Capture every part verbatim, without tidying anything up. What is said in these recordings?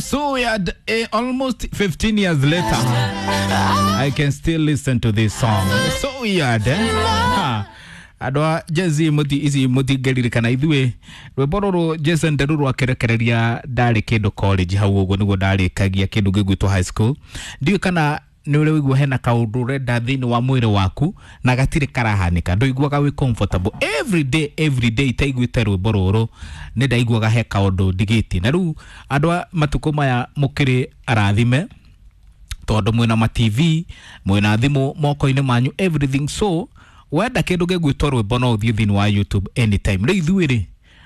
So weird. Eh, almost fifteen years later, I can still listen to this song. It's so weird, eh? Ha. Andå a Gen Z muti ici mutingäririkana ithuä rwĩmbo rũrũ Jason Derulo rwakerekereria ndarĩ kĩndũ college hau ũguo nĩguo ndarĩkagia kĩndũ gĩgwĩtwo high school. Ndiũĩ kana nĩ ũrĩ waigua hena kaũndũ ũrenda thĩinĩ wa mwĩrĩ waku na gatirĩ karahanĩka, ndũiguaga wĩ comfortable every day, every day itaiguĩte rwĩmbo rũrũ nĩ ndaiguaga he kaũndũ ndigĩtie. Na rĩu andũ a matukũ maya mũkĩrĩ arathime tondũ mwĩna ma T V, mwĩna thimũ moko-inĩ manyu, everything. So wenda kĩndũ gĩgwĩtwo rwĩmbo no ũthiĩ thĩinĩ wa YouTube anytime. Rĩu ithuĩ rĩ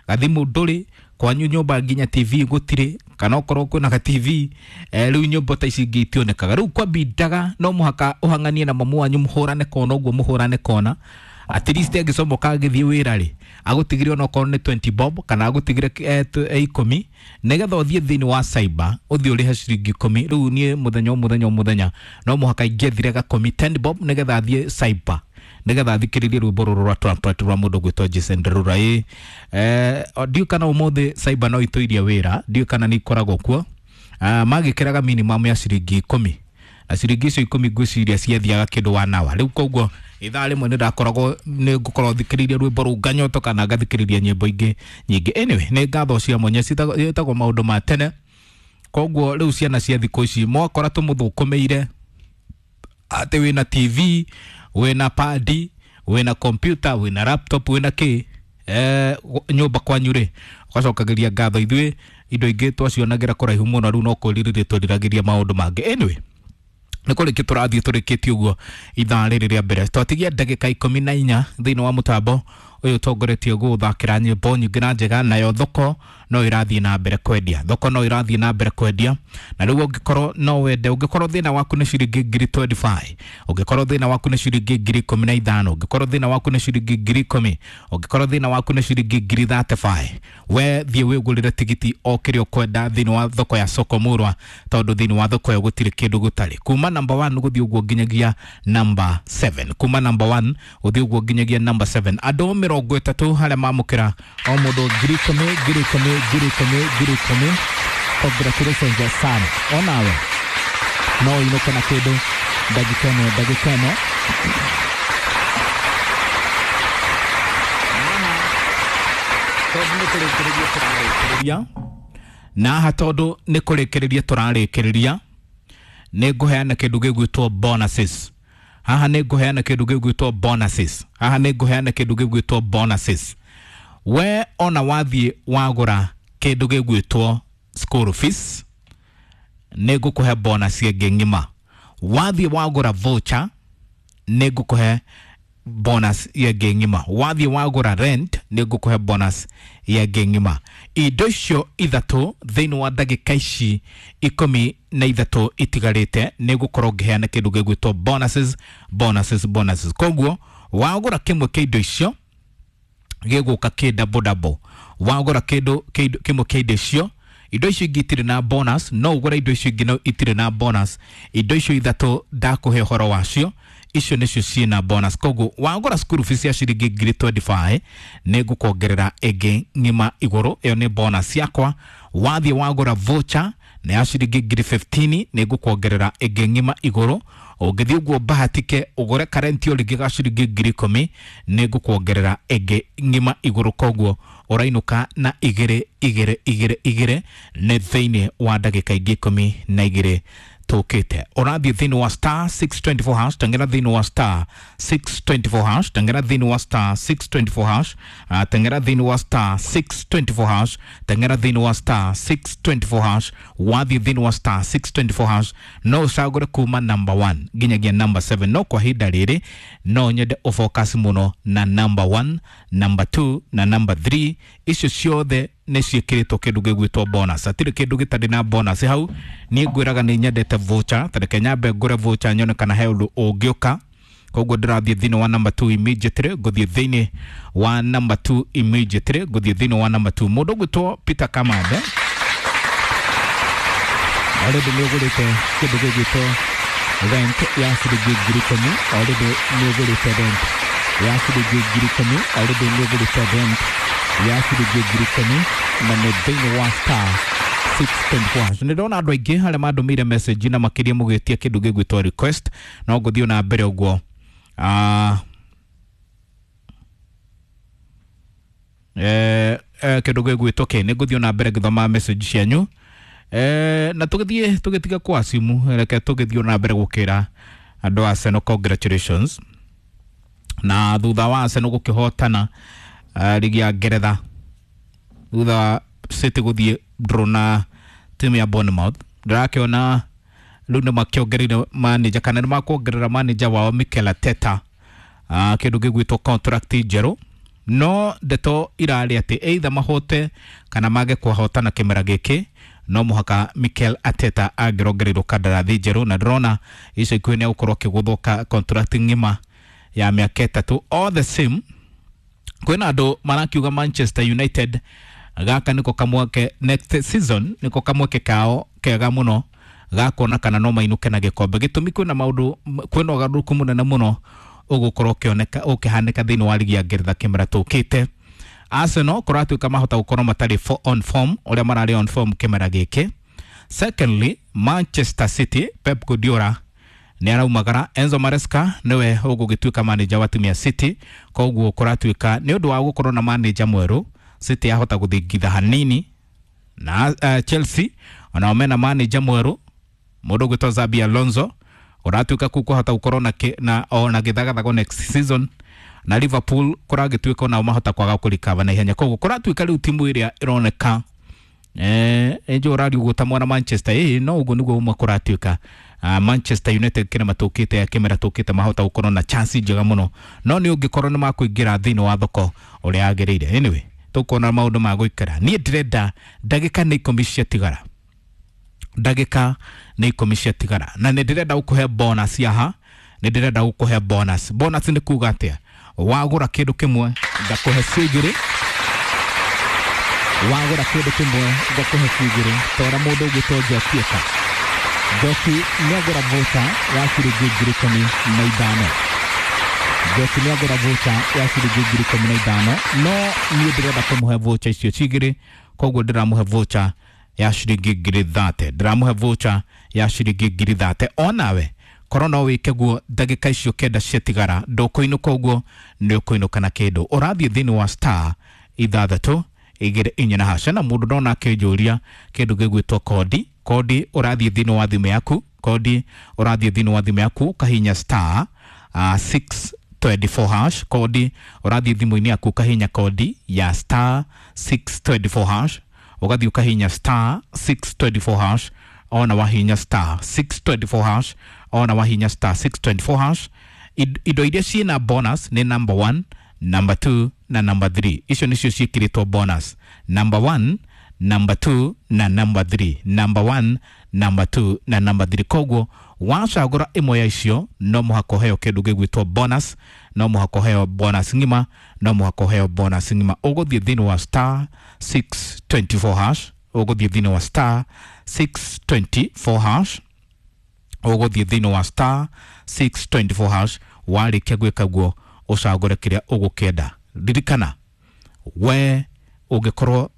gathimũ ndũrĩ kwanyu nyũmba, nginya T V gũtirĩ, kana okorwo kwĩna ga T V, eh, rĩu nyũmba ta ici ingĩ itionekaga. Rĩu kwambindaga no mũhaka ũhang'anie na mamu wanyu, mũhũrane kona ũguo, mũhũrane kona, at least angĩcomoka agĩthiĩ wĩra rĩ agũtigire onokorwo nĩ twenty bob kana agũtigire eh, tu- eh, ikũmi nĩgetha ũthiĩ thĩinĩ wa cyber ũthiĩ ũrĩhe ciringi ikũmi. Rĩu niĩ mũthenya o mũthenya o mũthenya no mũhaka ingĩethire gakũmi, ten bob, nĩgetha thiĩ cyber nĩgetha thikĩrĩrie rwĩmbo rũrũ rwa Trumpet rwa mũndũ gwĩtwo Jason Derulo. Ĩ eh, ndiũĩ kana ũmũthĩ cyber no itũirie wĩra, ndiũĩ kana nĩ ikoragwo kuo. Ah, magĩkĩraga minimum ya ciringi ikũmi na ciringi icio ikũmi ngwĩciria ciathiaga kĩndũ one hour. Rĩu koguo ithaa rĩmwe nĩ ndakoragwo nĩ ngũkorwo thikĩrĩirie rwĩmbo rũu nganyoto kana ngathikĩrĩria nyĩmbo ingĩ nyingĩ. Anyway, nĩ ngatho cia mwanya, ciĩtagwo ciĩtagwo maũndũ ma tene. Koguo rĩu ciana cia thikũ ici mwakora tũmũthũkũmĩire atĩ wĩna T V, wĩna padi, wĩna computer, wĩna laptop, wĩna kĩ eh, nyũmba kwanyu rĩ, ũgacokagĩria ngatho. Ithuĩ indo ingĩ twacionagĩra kũraihu mũno, rĩu no kwĩrirĩria twĩriragĩria maũndũ mangĩ. Anyway, nä kå rä kä tå rathiä tå rä kä tie å guo ithaa rä rä rä a mbere twatigia ndagä ikũmi na inya thĩinĩ wa mũtambo ũyũ ũtongoretie gũthakĩra nyĩmbo nyingĩ na njega. Nayo thoko no ĩrathiĩ na mbere kwendia, thoko no ĩrathiĩ na mbere kwendia. Na rĩu ũngĩkorwo no wende, ũngĩkorwo thĩna waku nĩ ciringi ngiri mĩrongo ĩĩrĩ na ithano, ũngĩkorwo thĩna waku nĩ ciringi ngiri ikũmi na ithano, ũngĩkorwo thĩna waku nĩ ciringi ngiri ikũmi, ũngĩkorwo thĩna waku nĩ ciringi ngiri mĩrongo ĩtatũ, we thiĩ wĩgũrĩre tigiti o kĩrĩa ũkwenda thĩinĩ wa thoko ya Soko Murwa, tondũ thĩinĩ wa thoko ĩyo gũtirĩ kĩndũ gũtarĩ. Kuma number one gũthiĩ ũguo nginyagia number seven, kuma number one gũthiĩ ũguo nginyagia number seven, andũ mĩrongo ĩtatũ harĩa mamũkĩra o mũndũ ngiri ikũmi, ngiri ikũmi, ngiri ikũmi, ngiri ikũmi. Congratulations sana, onawe no ũinũke na kĩndũ ndagĩka ĩno, ndagĩka ĩno. Tondũ nĩ kũrĩkĩrĩria tũrarĩkĩrĩria na haha, tondũ nĩ kũrĩkĩrĩria tũrarĩkĩrĩria, nĩ ngũheana kĩndũ gĩgwĩtwo bonuses haha, nĩ ngũheana kĩndũ gĩgwĩtwo bonuses haha, nĩ ngũheana kĩndũ gĩgwĩtwo bonuses. We ona wathiĩ wagũra kĩndũ gĩgwĩtwo school fees, nĩ ngũkũhe bonus ĩngĩ ng'ima. Wathiĩ wagũra voucher, nĩ ngũkũhe bonus ĩngĩ ng'ima. Wathiĩ wagũra rent, nĩ ngũkũhe bonus ĩngĩ ng'ima. Indo icio ithatũ thĩinĩ wa ndagĩka ici ikũmi na ithatũ itigarĩte nĩ ngũkorwo ngĩheana kĩndũ gĩgwĩtwo bonuses, bonuses, bonuses. Koguo wagũra kĩmwe kĩa indo icio gĩgũka kĩ double double. Wagũra kĩndũ kĩndũ- kĩmwe kĩa indo icio, indo icio ingĩ itirĩ na bonus, no ũgũre indo icio ingĩ no itirĩ na bonus. Indo icio ithatũ ndakũhe ũhoro wacio, icio nĩcio ciĩna bonus. Koguo wagũra school fees ya ciringi ngiri mĩrongo ĩĩrĩ na ithano, nĩ ngũkuongerera ĩngĩ ng'ima igũrũ, ĩyo nĩ bonus yakwa. Wathiĩ wagũra voucher na ya ciringi ngiri ikũmi na ithano, nĩ ngũkuongerera ĩngĩ ng'ima igũrũ. Ũngĩthiĩ ũguo bahatike ũgũre karenti o rĩngĩ ga ciringi ngiri ikũmi, nĩ ngũkuongerera ĩngĩ ng'ima igũrũ. Koguo ũrainũka na igĩrĩ, igĩrĩ, igĩrĩ, igĩrĩ nĩ thĩinĩ wa ndagĩka ingĩ ikũmi na igĩrĩ tũkĩte. Ũrathiĩ thĩinĩ wa star six two four hash, tengera thĩinĩ wa star six two four hash, tengera thĩinĩ wa star six two four hash, uh, tengera thĩinĩ wa star six two four hash, tengera thĩinĩ wa star six two four hash. Wathiĩ thĩinĩ wa star six two four hash no ũcagũre kuma number one nginyagia number seven, no kwa ihinda rĩrĩ no nyende ũfocus mũno na number one, number two na number three. Icio ciothe nĩ ciĩkĩrĩtwo kĩndũ gĩgwĩtwo bonus, hatirĩ kĩndũ gĩtarĩ na bonus hau. Niĩ ngwĩraga nĩ nyendete voucher, ta reke nyambe ngũre voucher nyone kana he ũndũ ũngĩũka. Koguo ndĩrathiĩ thĩinĩ wa number two immediately, ngũthiĩ thĩinĩ wa number two immediately, ngũthiĩ thĩinĩ wa number two. Mũndũ ũgwĩtwo Peter Kamande, already nĩ ũgũrĩte kĩndũ gĩgwĩtwo rent ya ciringi ngiri ikũmi, already nĩ ũgũrĩte rent ya ciringi ngiri ikũmi, already nĩ ũgũrĩte rent ya ciringi ngiri ikũmi, na nĩ thĩinĩ wa star six twenty-four hash. Nĩ ndona andũ aingĩ arĩa mandũmĩire message na makĩria mũgĩtia kĩndũ gĩgwĩtwo request, no ngũthiĩ na mbere ũguo. Ah, eh, eh, kĩndũ gĩgwĩtwo kĩ nĩ ngũthiĩ na mbere ngĩthoma message cianyu. Eh, na tũgĩthiĩ tũgĩtiga kwa simu, reke tũgĩthiĩ na mbere gũkĩra andũ a Arsenal congratulations. Na thutha wa Arsenal gũkĩhotana uh, ligi ya Ngeretha, thutha wa City gũthiĩ draw na timu ya Bournemouth, ndĩrakĩona rĩu nĩ makĩongereire manager kana nĩ makuongerera manager wao Mikel Arteta uh, kĩndũ gĩgwĩtwo contract njerũ. No ndeto irarĩ atĩ either mahote kana mage kũhotana kĩmera gĩkĩ, no mũhaka Mikel Arteta angĩrongereirwo kandarathi njerũ, na ndĩrona ica ikuhĩ nĩ egũkorwo akĩgũthwo contract ng'ima ya mĩaka ĩtatũ. All the same, kwĩna andũ marakiuga Manchester United gaka niko kamweke next season, niko kamweke kao kega mũno gakuona kana no mainũke na gĩkombe. Gĩtũmi kwĩna maũndũ, kwĩna ũgarũrũku mũnene mũno ũgũkorwo ũkĩoneka ũkĩhanĩka thĩinĩ wa ligi ya Ngeretha kĩmera tũkĩte. Arsenal kũratuĩka mahota gũkorwo matarĩ on form ũrĩa mararĩ on form kĩmera gĩkĩ. Secondly, Manchester City Pep Guardiola nĩ araumagara, Enzo Maresca nĩwe ũgũgĩtuĩka manager wa timu ya City. Koguo kũratuĩka nĩ ũndũ wa gũkorwo na manager mwerũ, City yahota gũthingitha hanini. Na uh, Chelsea onao mena manager mwerũ, mũndũ ũgwĩtwo Xabi Alonso, ũratuĩka kũu kũhota gũkorwo na, na ona gĩthagathago next season. Na Liverpool kũragĩtuĩka onao mahota kwaga kũrikava na ihenya. Koguo kũratuĩka rĩu timu ĩrĩa ĩroneka eh enjo ũrariugwo ta mwana Manchester, eh no ũguo nĩguo ũmwe kũratuĩka. Uh, Manchester United kĩrĩa matũkĩte kĩmera tũkĩte mahota gũkorwo na chance njega mũno, no nĩ ũngĩkorwo nĩ makũingĩra thĩinĩ wa thoko ũrĩa yagĩrĩire. Anyway, tũkuona maũndũ ma gũikara. Niĩ ndĩrenda ndagĩka nĩ ikũmi ciatigara, ndagĩka nĩ ikũmi ciatigara, na nĩ ndĩrenda gũkũhe bonus haha, nĩ ndĩrenda gũkũhe bonus. Bonus nĩ kuga atĩa? Wagũra kĩndũ kĩmwe ngakũhe cio igĩrĩ, wagũra kĩndũ kĩmwe ngakũhe cio igĩrĩ. Tora mũndũ ũgwĩtwo Njoki eka. Njoki nĩagũra voucher ya ciringi ngiri ikũmi na ithano. Njoki nĩagũra voucher ya ciringi ngiri ikũmi na ithano, no niĩ ndĩrenda kũmũhe voucher icio cigĩrĩ, koguo ndĩramũhe voucher ya ciringi ngiri thate, ndĩramũhe voucher ya ciringi ngiri thate. Onawe korwo no wĩke guo ndagĩka icio kenda ciatigara, ndũkũinũka ũguo nĩ ũkũinũka na kĩndũ. Ũrathiĩ thĩinĩ wa star ithathatũ igĩrĩ inya na haca. Na mũndũ ndona akĩnjũria kĩndũ gĩgwĩtwo kodi. Kodi ũrathiĩ thĩinĩ wa thimũ yaku, kodi ũrathiĩ thĩinĩ wa thimũ yaku ũkahinya star uh, six twenty-four hash. Kodi ũrathiĩ thimũ-inĩ yaku ũkahinya kodi ya star six twenty-four hash, ũgathiĩ ũkahinya star six twenty-four hash. Ona wahinya star six twenty-four hash, ona wahinya star six twenty-four hash, indo iria ciĩna bonus nĩ number one, number two na number three. Icio nĩcio ciĩkĩrĩtwo bonus, number one, number two na number three, number one, number two na number three. Koguo wacagũra ĩmwe ya icio no mũhaka ũheo kĩndũ gĩgwĩtwo bonus, no mũhaka ũheo bonus ng'ima, no mũhaka ũheo bonus ng'ima. Ũgũthiĩ thĩinĩ wa star six twenty-four hash, ũgũthiĩ thĩinĩ wa star six twenty-four hash, ũgũthiĩ thĩinĩ wa star six twenty-four hash. Warĩkia gwĩka guo ũcagũre kĩrĩa ũgũkĩenda. Ririkana we ũngĩkorwo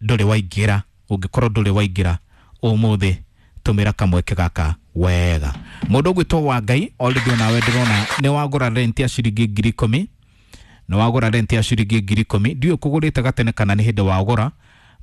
ndũrĩ waingĩra, ũngĩkorwo ndũrĩ waingĩra ũmũthĩ, tũmĩra kamweke gaka wega. Mũndũ ũgwĩtwo wa Ngai already onawe ndĩrona nĩ wagũra rent ya ciringi ngiri ikũmi, nĩ wagũra rent ya ciringi ngiri ikũmi. Ndiũĩ kũgũrĩte gatene kana nĩ hĩndĩ wagũra,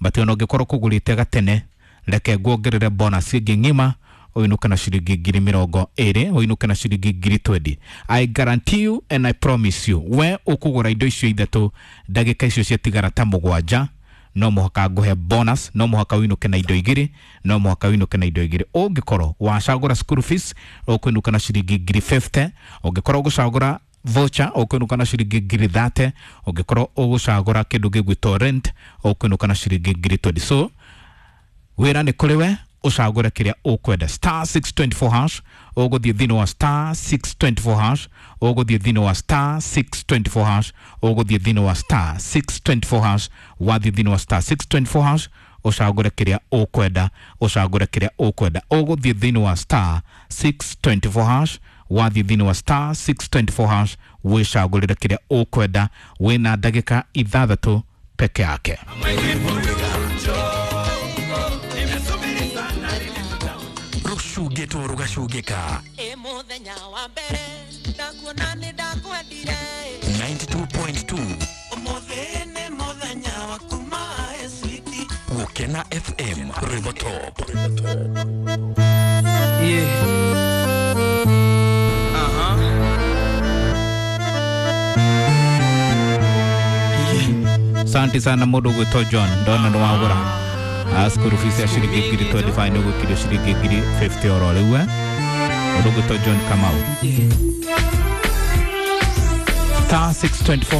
but ona ũngĩkorwo kũgũrĩte gatene, reke nguongerere bonus ĩngĩ ng'ima, ũinũke na ciringi ngiri mĩrongo ĩrĩ, ũinũke na ciringi ngiri twenty. I guarantee you and I promise you, we ũkũgũra indo icio ithatũ ndagĩka icio ciatigara ta mũgwanja, no mũhaka ngũhe bonus, no mũhaka ũinũke na indo igĩrĩ, no mũhaka ũinũke na indo igĩrĩ. Ũngĩkorwo wacagũra school fees ũkũinũka na ciringi ngiri fifty, ũngĩkorwo ũgũcagũra voucher ũkũinũka na ciringi ngiri thirty, ũngĩkorwo ũgũcagũra kĩndũ gĩgwĩtwo rent ũkũinũka na ciringi ngiri twenty. So wĩra nĩ kũrĩ we, ũcagũre kĩrĩa ũkwenda. Star six twenty-four hash, ũgũthiĩ thĩinĩ wa star six twenty-four hash, ũgũthiĩ thĩinĩ wa star six twenty-four hash, ũgũthiĩ thĩinĩ wa star six twenty-four hash. Wathiĩ thĩinĩ wa star six twenty-four hash, ũcagũre kĩrĩa ũkwenda, ũcagũre kĩrĩa ũkwenda. Ũgũthiĩ thĩinĩ wa star six twenty-four hash, wathiĩ thĩinĩ wa star six twenty-four hash, wĩcagũrĩre kĩrĩa ũkwenda. Wĩna ndagĩka ithathatũ peke yake. Rũcungĩtwo rũgacungĩka. Ĩ mũthenya wa mbere ndakuona nĩ ndakwendire. ninety-two point two. Ũmũthĩ nĩ mũthenya waku my sweetie. Gũkena F M Rwĩmbo Top. Yeah. Uh-huh. Asante sana mũndũ ũgwĩtwo John, ndona nĩ wagũra school fees ya ciringi ngiri twenty-five nĩ ũgwĩkĩrio ciringi ngiri fifty oro rĩu, eh? Mũndũ ũgwĩtwo John Kamau. Star six twenty-four